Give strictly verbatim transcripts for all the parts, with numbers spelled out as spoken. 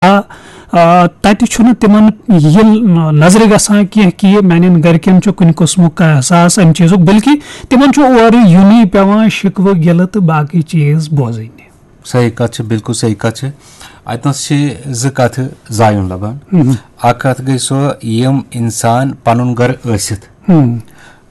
آ، آ، تَتہِ چھُنہٕ تِمن یہِ نظرِ گژھان کینٛہہ کہِ میانٮ۪ن گرِکٮ۪ن چھُ کُنہِ قٕسمُک کانٛہہ احساس اَمہِ چیٖزُک، بلکہِ تِمن چھُ اورٕ یُنٕے پٮ۪وان، شِکوٕ گِلہٕ تہٕ باقٕے چیٖز بوزٕنۍ۔ صحیح کتھ چھِ، بِلکُل صحیح کتھ چھِ۔ اتنس چھِ زٕ کتھٕ زایُن لبان۔ مہم۔ اکھ کتھ گٔے سۄ، یِم انسان پنُن گرٕ ٲسِتھ مہم۔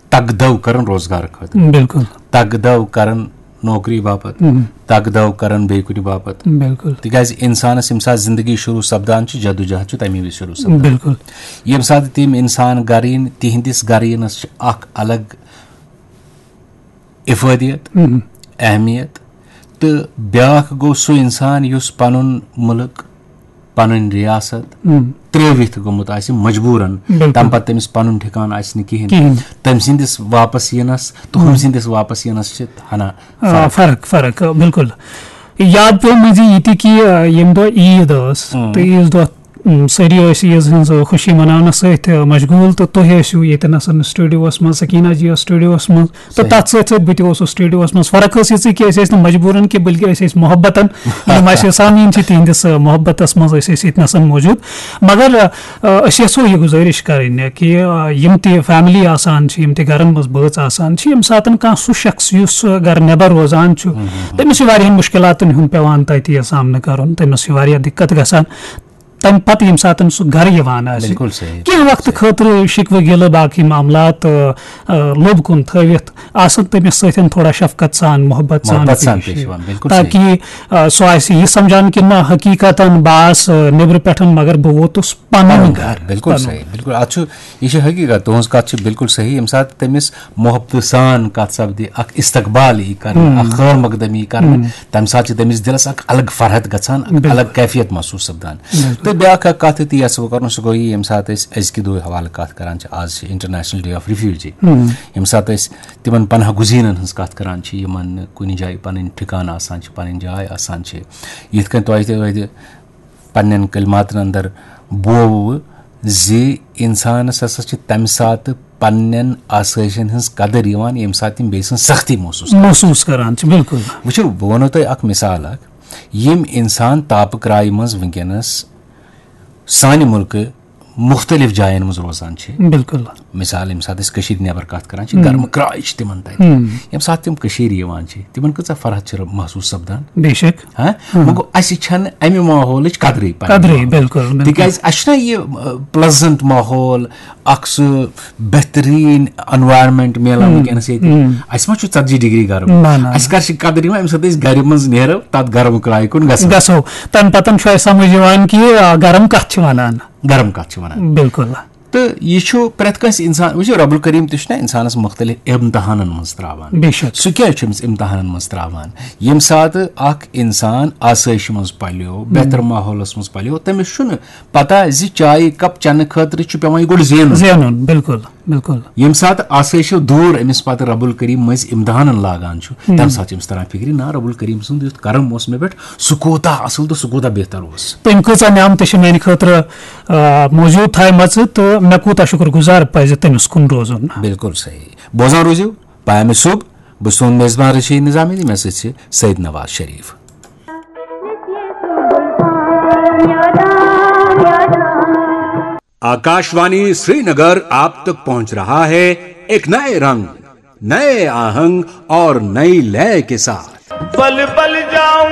تگدو کرن روزگار خٲطرٕ، بِلکُل۔ تگدو کرن نوکری باپتھ، مہم۔ تگدو کرن بیٚیہِ کُنہِ باپتھ۔ بِلکُل۔ تِکیازِ انسانس ییٚمہِ ساتہٕ زندگی شروع سپدان چھِ، جدوجہد چھُ تمی وِزِ شروع سپدان۔ بِلکُل۔ ییٚمہِ ساتہٕ تِم انسان گرٕ یِن، تِہنٛدِس گرٕ یِنس چھِ اکھ الگ افٲدیت، مہم۔ اہمیت، تہٕ بیٛاکھ گوٚو سُہ انسان یُس پنُن مُلک، پنٕنۍ ریاست مہم۔ ترٛٲوِتھ گوٚمُت آسہِ مجبوٗرن، بِلکُل۔ تمہِ پتہٕ تٔمِس پنُن ٹھِکانہٕ آسہِ نہٕ کِہیٖنۍ۔ کِہیٖنۍ۔ تٔمۍ سٕنٛدِس واپس یِنس تہٕ ہُم مہم۔ سٕنٛدِس واپس یِنس چھِ ہنا آ، فرق۔ فرق، فرق، آ، بِلکُل۔ یاد پیوٚو مٔنٛزی یہِ تہِ کہِ، آ، ییٚمہِ دۄہ عیٖد ٲس مم۔ تہٕ عیٖذ دۄہ، م، سٲری ٲسۍ عیٖذ ہٕنٛز خوشی مناونَس سۭتۍ، آ، مشغوٗل، تہٕ تُہۍ ٲسِو ییٚتٮ۪ن آسان studioس منٛز، سکیٖنا جی ٲس studioس منٛز، تہٕ صحیح۔ تَتھ سۭتۍ سۭتۍ بہٕ تہِ اوسُس studioس منٛز۔ فرق ٲس یِژٕے کہِ أسۍ ٲسۍ نہٕ مجبوٗرن کینٛہہ، بٔلکہِ أسۍ ٲسۍ محبتن، یِم اَسہِ سامعیٖن چھِ تِہِنٛدِس، آ، محبتس منٛز ٲسۍ أسۍ ییٚتہِ نَسَن موجوٗد۔ مگر، آ، آ، أسۍ یَژھو یہِ گُزٲرِش کَرٕنۍ کہِ، آ، یِم تہِ family آسان چھِ، یِم تہِ گَرَن منٛز بٲژ آسان چھِ، ییٚمہِ ساتَن کانٛہہ سُہ شخص یُس، آ، گَرٕ نٮ۪بَر روزان چھُ، مم، مم، مم۔ تٔمِس چھِ واریاہَن مُشکِلاتَن ہُنٛد پٮ۪وان تَتہِ یہِ سامنہٕ کَرُن، تٔمِس چھِ واریاہ دِقت گژھان۔ تَمہِ پَتہٕ ییٚمہِ ساتَن سُہ گَرٕ یِوان آسہِ، بِلکُل صحیح۔ کینٛہہ وقتہٕ صحیح۔ خٲطرٕ شِکوٕ گِلہٕ باقٕے معاملات، آ، آ، لوٚب کُن تھٲوِتھ آسان تٔمِس سۭتۍ تھوڑا شفقت سان، محبت سان محبت سان پیش پیش یِوان۔ یِوان، بِلکُل صحیح۔ تاکہِ، آ، سُہ آسہِ یہِ سمجھان کہِ نہ، حقیٖقتاً بہٕ آس، آ، نیٚبرٕ پٮ۪ٹھ مگر بہٕ ووتُس پنُن پنُن گرٕ، گرٕ، بِلکُل پنُن۔ صحیح، بِلکُل۔ اتھ چھُ، یہِ چھِ حقیٖقت، تُہٕنٛز کتھ چھِ بِلکُل صحیح۔ ییٚمہِ ساتہٕ تٔمِس محبتہٕ سان کتھ سپدِ، اکھ استقبال یی کرنہٕ، ہم۔ اکھ خٲر مقدم یی کرنہٕ، ہم۔ تمہِ ساتہٕ چھِ تٔمِس دِلس اکھ الگ فرحت گژھان، اکھ بِلکُل۔ الگ کیفیت محسوٗس سپدان۔ بِلکُل۔ تہٕ بیٛاکھ اکھ کتھ تہِ یژھٕ بہٕ کرُن، سُہ گوٚو یہِ، ییٚمہِ ساتہٕ أسۍ أزکہِ دۄہ حوالہٕ کتھ کران چھِ، آز چھِ International Day of Refugee، ہم۔ ییٚمہِ ساتہٕ أسۍ تِمن پناہ گزینن ہٕنٛز کتھ کران چھِ، یِمن نہٕ کُنہِ جایہِ پنٕنۍ ٹھِکانہٕ آسان چھِ، پنٕنۍ جاے آسان چھِ، یِتھ کٔنۍ تۄہہِ تہِ ٲدِ پننٮ۪ن کلماتن اندر بووٕ زِ انسانس ہسا چھِ تمہِ ساتہٕ پننٮ۪ن آسٲیشن ہٕنٛز قدر یِوان، ییٚمہِ ساتہٕ تِم بیٚیہِ سٕنٛز سختی محسوٗس کران۔ محسوٗس کران چھِ، بِلکُل۔ وٕچھِو، بہٕ ونو تۄہہِ اکھ مثال اکھ۔ یِم انسان تاپہٕ کرایہِ منٛز وٕنکیٚنس سانہِ مُلکہٕ مُختٔلِف جاین منٛز روزان چھِ، بِلکُل۔ مثال، ییٚمہِ ساتہٕ أسۍ کٔشیٖرِ نٮ۪بر کتھ کران چھِ، ہم۔ گرمہٕ کرٛاے چھِ تِمن تتہِ۔ ہم۔ ییٚمہِ ساتہٕ تِم کٔشیٖرِ یِوان چھِ، تِمن کۭژاہ فرحت چھِ محسوٗس سپدان۔ بے شک۔ ہاں؟ ہم۔ وۄنۍ گوٚو، اسہِ چھنہٕ امہِ ماحولٕچ قدرٕے پننہِ قدرٕے، ماحولٕچ۔ بِلکُل، بِلکُل۔ تِکیازِ اسہِ چھُنہ یہِ، آ، pleasant ماحول، اکھ سُہ بہتریٖن environment میلان ہم۔ وٕنکیٚنس ییٚتہِ۔ ہم۔ اسہِ ما چھُ ژتجی ڈگری گرم؟ نہ، نہ، اسہِ نہ۔ کر چھِ قدر یِوان، ییٚمہِ ساتہٕ أسۍ گرِ منٛز نیرو، تتھ گرمہٕ کرٛایہِ کُن گژھو۔ گژھو۔ تمہِ پتہٕ چھُ اسہِ سمجھ یِوان کہِ، آ، گرم کتھ چھِ ونان۔ گرم کتھ چھِ ونان۔ بِلکُل۔ تہٕ یہِ چھُ پرٛٮ۪تھ کٲنٛسہِ انسان، وٕچھِو، رب الکریم تہِ چھُنہ انسانس مختلف امتحانن منٛز تراوان۔ بے شک۔ سُہ کیٛازِ چھُ أمِس امتحانن منٛز تراوان؟ ییٚمہِ ساتہٕ اکھ انسان آسٲیشہِ منٛز پلیو، بہتر ماحولس منٛز پلیو، تٔمِس چھُنہٕ پتہ زِ چایہِ کپ چنہٕ خٲطرٕ چھُ پٮ۪وان یہِ گۄڈٕ زینُن۔ زینُن، بِلکُل، بِلکُل۔ ییٚمہِ ساتہٕ آسٲیشو دوٗر أمِس پتہٕ رب الکریم مٔنٛزۍ امتحانن لاگان چھُ، ہم۔ تمہِ ساتہٕ چھُ أمِس تران فکرِ، نہ، رب الکریم سُنٛد یُتھ کرم اوس مےٚ پٮ۪ٹھ، سُہ کوٗتاہ اصل تہٕ سُہ کوٗتاہ بہتر اوس۔ تٔمۍ کۭژاہ نعمتہٕ چھِ میانہِ خٲطرٕ، آ، موجود تھایمژٕ تہٕ مےٚ کوٗتاہ شُکر گُزار پزِ تٔمِس کُن روزُن۔ بِلکُل صحیح۔ بوزان روٗزِو پیامِ صُبح۔ بہٕ چھُس تُہُنٛد میزبان رشیٖد نظامی تہٕ مےٚ سۭتۍ چھِ سید نواز شریف۔ आकाशवाणी श्रीनगर आप तक पहुंच रहा है एक नए रंग, नए आहंग और नई लय के साथ। पल पल जाऊं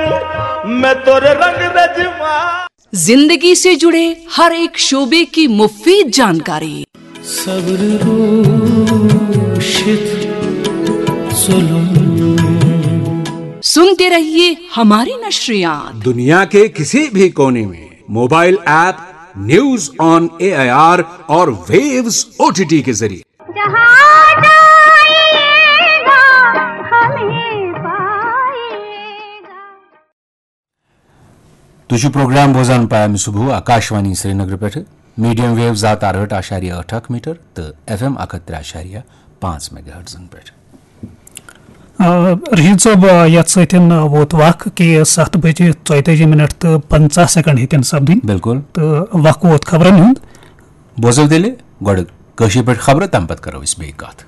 मैं तोरे रंग में जीवां। जिंदगी से जुड़े हर एक शोबे की मुफीद जानकारी। सब्र रूशित जुल्म। सुनते रहिए हमारी नशरियात। दुनिया के किसी भी कोने में mobile app news on AIR और वेव्स ओटीटी के जरिए। जहाँ जाइएगा, हमें पाइएगा। تُہۍ چھِو پروگرام بوزان پیام صبح آکاشوانی سرینگر پٮ۪ٹھٕ، میڈیم ویو زٕ ہتھ ارہٲٹھ اعشاریہ ٲٹھ اکھ میٹر تہٕ ایف ایم اکھ ہتھ ترٛےٚ اعشاریہ پانٛژھ میگا ہرٹزن پٮ۪ٹھ۔ آ، رشید صٲب، آ، یتھ سۭتۍ، آ، ووت وق کہِ ستھ بجے ژۄیتٲجی منٹ تہٕ پنژاہ سیکنڈ ہیٚتن سپدٕنۍ۔ بِلکُل۔ تہٕ وق ووت خبرن ہُنٛد۔ بوزو تیٚلہِ گۄڈٕ کٲشِر پٲٹھۍ خبرٕ، تَمہِ پتہٕ کرو أسۍ بیٚیہِ کتھ۔